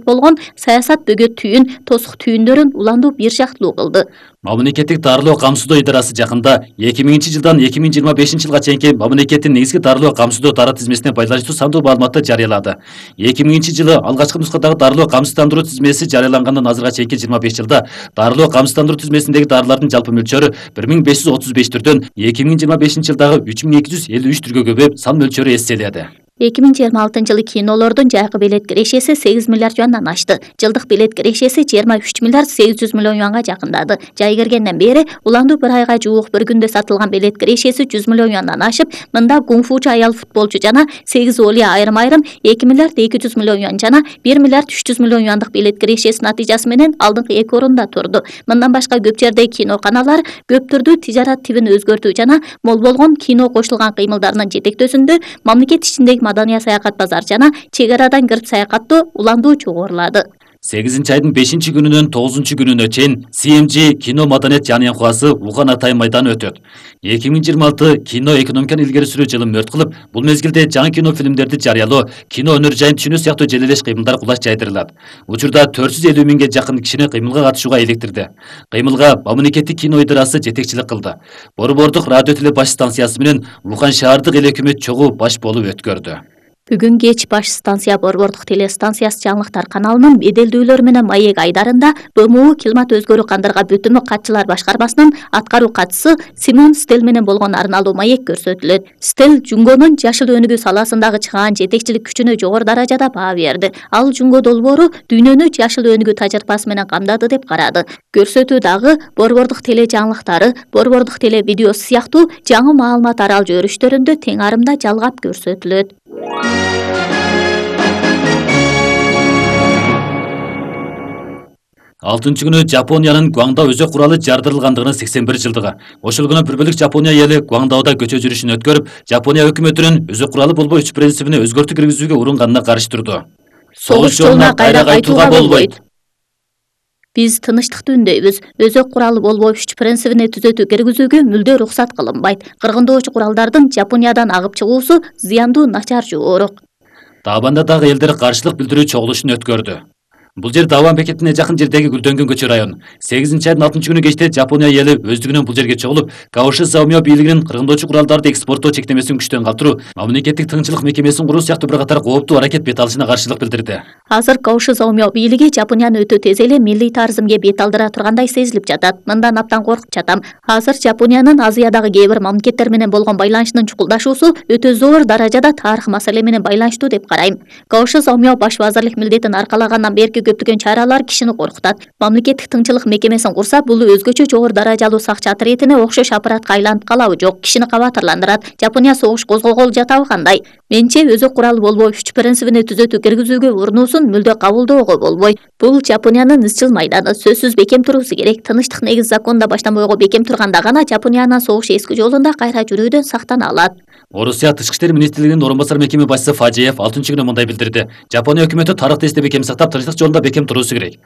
болгон саясат бөгөт түйүн, тосук түйүндөрүн уландуу бир жактылуу кылды. Мамлекеттик дарылоо камсыздоо идарасы жакында 2000-жылдан 2025-жылга чейинки мамлекеттин негизги дарылоо камсыздоо дары тизмесине байланыштуу сандуу маалыматты жарыялады. 2000-жылы алгачкы нускадагы дарылоо камсыздандыруу тизмеси жарыялангандан азыркыга чейинки 25 жылда дарылоо камсыздандыруу тизмесиндеги дарылардын жалпы мөлчөрү 1535 түрдөн 2025-жылдагы 3253 түргө көбөйүп, сан мөлчөрү эсселеди. 2026-жылы кинолордун жайкы билет кирешеси 8 миллиард юандан ашты. Жылдык билет кирешеси 23 миллиард 800 миллион юанга жакындады. Жай киргенден бери уландуу bir айга жуук bir күндө сатылган билет кирешеси 100 миллион юандан ашып, мында кунг-фучу аял футболчу жана 8 олия айрым-айрым 2 миллиард 200 миллион юан жана 1 миллиард 300 миллион юандык билет кирешеси натыйжасы менен алдыңкы 2 орунда турду. Мындан башка көп жердеги кино каналдар көп түрдүү тижарат тибин өзгөртүү жана мол болгон кино кошулган кыймылдарынын жетектөөсүндө мамлекет ичиндеги Madaniya саякат базар жана чек арадан кирип саякаттоо уландуу чогорулады. 8-айдын 5-күнүнөн 9-күнүнө чейин CMG кино маданият жаныянкасы Уган Атай майданы өтөт. 2026 кино экономиканы илгери сүрүү жылы мөрт кылып, бул мезгилде жаңы кино фильмдерди жарыялоо, кино өнөр жайын түшүнүү сыяктуу желелеш кыймылдар кулаш жайдырылат. Учурда 450 миңге жакын кишини кыймылга катышууга иликтирди. Кыймылга мамлекеттик кино идарасы жетекчилик кылды. Борбордук радио теле баш станциясы менен Ухан шаардык эл өкмөт чогуу баш болуп өткөрдү. Бүгүн кеч баш станция борбордук телестанциясы жаңылыктар каналынын беделдүүлөр менен маек айдарында БМУ климат өзгөрүү кандырга бүтүмү катчылар башкармасынын аткаруу катчысы Симон Стел менен болгон арналуу маек көрсөтүлөт. Стел Жунгонун жашыл өнүгүү саласындагы чыгаан жетекчилик күчүнө жогору даражада баа берди. Ал Жунго долбоору дүйнөнү жашыл өнүгүү тажрыйбасы менен камдады деп карады. Көрсөтүү дагы борбордук теле жаңылыктары, борбордук теле видеосу сыяктуу жаңы маалымат арал жөрүштөрүндө тең арымда жалгап көрсөтүлөт. 6-күнү Жапониянын Гуаңдао өзөк куралы жардырылгандыгынын 81 жылдыгы. Ошол күнү бир бөлүк Жапония эли Гуаңдаода көчө жүрүшүн өткөрүп, Жапония өкмөтүнүн өзөк куралы болбой 3 принцибине өзгөртүү киргизүүгө урунганына каршы турду. Согуш жолуна кайра кайтууга болбойт. Биз тынычтыкты үндөйбүз. Өзөк куралы болбой 3 принцибине түзөтүү киргизүүгө мүлдө уруксат кылынбайт. Кыргындоочу куралдардын Жапониядан агып чыгуусу зыяндуу начар жогорок. Табанда дагы элдер каршылык билдирүү чогулушун өткөрдү. Бул жер Даван бекетине жакын жердеги Гүлдөнгөн көчө район. 8-айдын 6-күнү кечте Жапония эли өздүгүнөн бул жерге чогулуп, Каоши Заумио бийлигинин кыргындоочу куралдарды экспорттоо чектемесин күчтөн калтыруу, мамлекеттик тыңчылык мекемесин куруу сыяктуу бир катар кооптуу аракет бет алышына каршылык билдирди. Азыр Каоши Заумио бийлиги Жапонияны өтө тез эле милли тарызымга бет алдыра тургандай сезилип жатат. Мындан абдан коркуп жатам. Азыр Жапониянын Азиядагы кээ бир мамлекеттер менен болгон байланышынын чукулдашуусу өтө зор даражада тарых маселе менен байланыштуу деп карайм. Каоши Заумио баш вазирлик милдетин аркалагандан берки көптөгөн чаралар кишини коркутат. Мамлекеттик тыңчылык мекемесин курса, бул өзгөчө жогору даражалуу сакчы отрядине окшош аппаратка айланып калабы жок, кишини кабатырландырат. Жапония согуш козгогол жатабы кандай? Менче өзөк куралы болбой 3 принцибине түзөтүү киргизүүгө урунуусун мүлдө кабылдоого болбойт. Бул Жапониянын ызчыл майданы, сөзсүз бекем туруусу керек. Тынычтык негиз законда баштан бойго бекем турганда гана Жапониянын согуш эски жолунда кайра жүрүүдөн сактана алат. Орусия Тышкы иштер министрлигинин орун басар мекеме башчысы Фажиев 6-күнү мындай билдирди. Жапония өкмөтү тарыхты эсте бекем сактап, тынчтык жолунда бекем туруусу керек.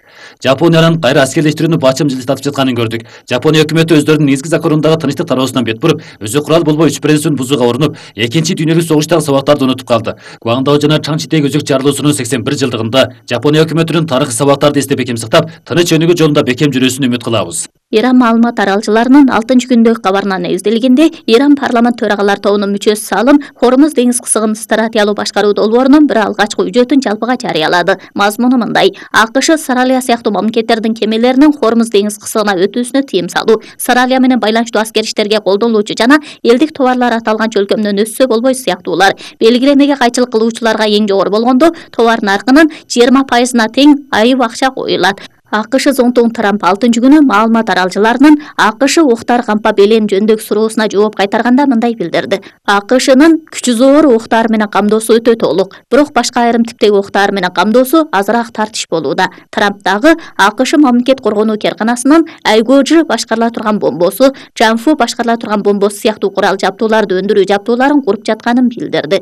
Жапониянын кайра аскерлештирүүнү бачым жылдатып жатканын көрдүк. Жапония өкмөтү өздөрүнүн негизги законундагы тынчтык тараабысынан бет буруп, өзөк курал болбой 3 принцибин бузууга урунуп, Экинчи дүйнөлүк согуштагы сабактарды унутуп калды. Гуаңдао жана Чаңчидеги өзөк жарылуусунун 81 жылдыгында Жапония өкмөтүнүн тарыхый сабактарды эсте бекем сактап, тыныч өнүгүү жолунда бекем жүрүүсүн үмүт кылабыз. Иран маалымат аралчыларынын 6-күндөгү кабарына негизделгенде, Иран парламент төрагалар тобунун мүчөсү Салым Хормуз деңиз кысыгын стратегиялуу башкаруу долбоорунун бир алгачкы үжөтүн жалпыга жарыялады. Мазмуну мындай: АКШ Саралия сыяктуу мамлекеттердин кемелеринин Хормуз деңиз кысыгына өтүүсүнө тыйым салуу, Саралия менен байланыштуу аскер иштерге колдонулуучу жана элдик товарлар аталган чөлкөмдөн өссө болбой сыяктуулар, белгилемеге кайчылык кылуучуларга эң жогору болгондо товар наркынын 20%-на тең айып акча коюлат. АКШ зонтугун Трамп 6-күнү маалымат аралчыларынын АКШ октар кампа белен жөнүндөгү суроосуна жооп кайтарганда мындай билдирди: АКШнын күчү зоор октар менен камдоосу өтө толук, бирок башка айрым типтеги октар менен камдоосу азыраак тартыш болууда. Трамп дагы АКШ мамлекет коргонуу керканасынын Айгожи башкарыла турган бомбосу, Джанфу башкарыла турган бомбосу сыяктуу курал жабдууларды өндүрүү жабдууларын куруп жатканын билдирди.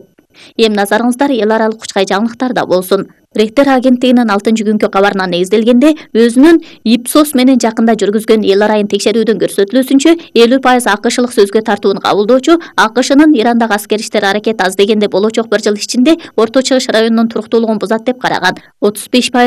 Эми назарыңыздар эл аралык учкай жаңылыктарда болсун. Рейхтер агенттигинин 6-күnkү кабарынан негизделгенде, өзүнүн Ipsos менен жакында жүргүзгөн эл арайын текшерүүдүн көрсөтүлүүсүнчө 50% АКШлык сөзгө тартууну кабылдоочу АКШнын Ирандагы аскер иштер аракети аз дегенде болочок 1 жыл ичинде Орто Чыгыш районунун туруктуулугун бузат деп караган. 35%